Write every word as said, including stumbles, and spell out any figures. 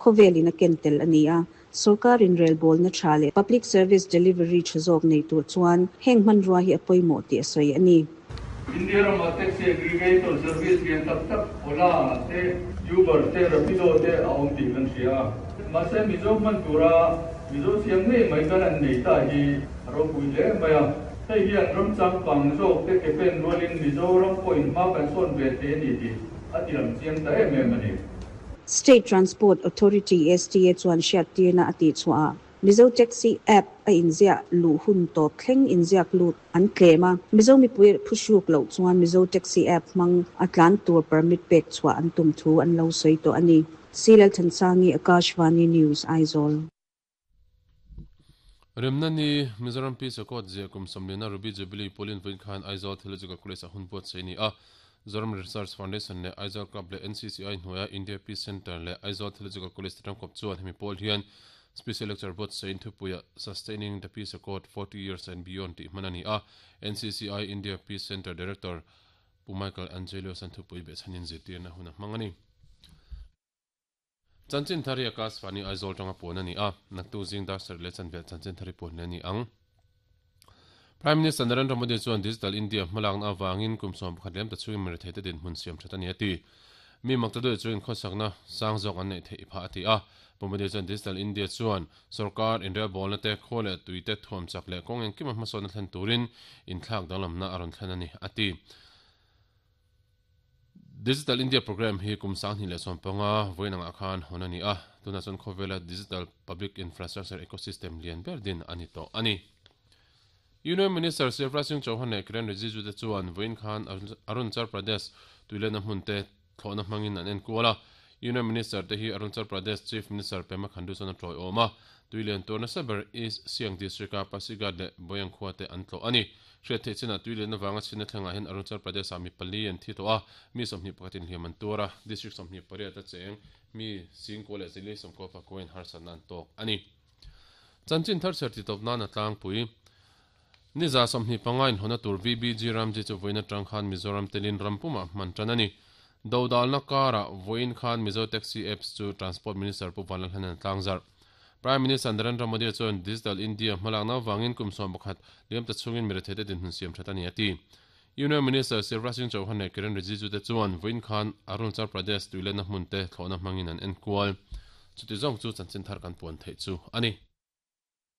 Khawvelin a ken tel a ni a, sorkar inrelbawl na tha leh public service delivery tha zawk nei tur chuan heng hmanrua hi a pawimawh tih a sawi a ni. India rama taxi aggregator service lian tak tak Ola te, Uber te, Rapido te a awm tih kan hria. Mahse Mizo hman tura Mizo siam ngei mai kan an nei ta hi a ropui hle mai a. Hei hian ram changkang zawk te ke pen rualin Mizoram pawhin hma kan sawn ve thei a ni tih a ti lang chiang ta em em a ni. State Transport Authority S T A chuan hriattirna a tih chhuah Mizo Taxi app a inziah luh hun tawp thleng inziak lut an tlem a, Mizo mipui phuhruk loh chuan Mizo Taxi app hmang a tlan tur permit pek chhuah an tum thu an lo sawi tawh a ni. Silal Thansangi, Akashvani News, Aizawl. Remna Ni, Mizoram Peace Accord ziah kum sawmliana Ruby Jubilee pualin vawiin khan Aizawl Theological College a hun buatsaih a ni a. Zoram Research Foundation leh Aizawl Club leh N C C I hnuaia India Peace Centre leh Aizawl Theological College te tangkawp chuan hemi pawl hian special lecture buatsaih thupuia Sustaining the Peace Accord forty Years and Beyond tih hman a ni a. N C C I India Peace Centre Director Pu Michael Angelo san thupui behchhanin zirtirna hun a hmang a ni. Chanchin thari Akashvani Aizawl tanga puan a ni a, naktuk zing dar sarih leh chanve chanchin thari puan le ni ang. Prime Minister Narendra Modi chuan Digital India hmalakna awangin kum sawm pakhat lem ta chungin mirethei te dinhmun siam that a ni a ti. Mi makta chuin khawsakna sang zawk an nei thei pha a ti a. Pu Modi chuan Digital India chuan sarkar inrelbawlna te, khaw leh tui te thuam chak leh kawng engkim a hmasawnna thlen turin inthlak danglamna a rawn thlen a ni a ti. Digital India program hi kum sang hnih leh sawm panga vawiin angah khan hawn a ni a, tuna chuan khawvela digital public infrastructure ecosystem lian ber din a ni tawh a ni. Union Minister Shivraj Singh Chauhan leh Kiren Rijiju te chuan vawiin khan Arunachal Pradesh tuilena hmun te thlawhna hmangin an enkual a. Union Minister te hi Arunachal Pradesh Chief Minister Pema Khandu chuan a tawi awm a. Tuilian turna saber East Siang District a Pasighat leh Boyang khua te an tlawh a ni. Hriat theih chinah tuilian awanga chhina thlengah hian Arunachal Pradesh ah mi pali an thi tawh a, mi sawmhnih pakhatin hliam an tur a, district sawmhnih pariat a cheng mi singkaw leh zili sawmkaw pakuain harsatna an tawk a ni. Chanchin thar chher ti tawp nan a tlangpui. Ni za sawmhnih panga in hona tur V B G Ramji chu vawiin atang khan Mizoram telin rampuma hman tan a ni. Dodalna kara vawiin khan Mizo Taxi apps chu Transport Minister Pu Vanlalhlanan tlangzarh. Prime Minister Narendra Modi chuan Digital India hmalakna wangin kum sawm pakhat liam ta chungin mirethei te dinhmun siam that a ni a ti. Union Minister Shivraj Singh Chauhan leh Kiren Rijiju te chuan vawiin khan Arunachal Pradesh tuilena hmun te thlawhna hmangin an enkual. Chuti zawng chu chanchin thar kan puan theih chu a ni.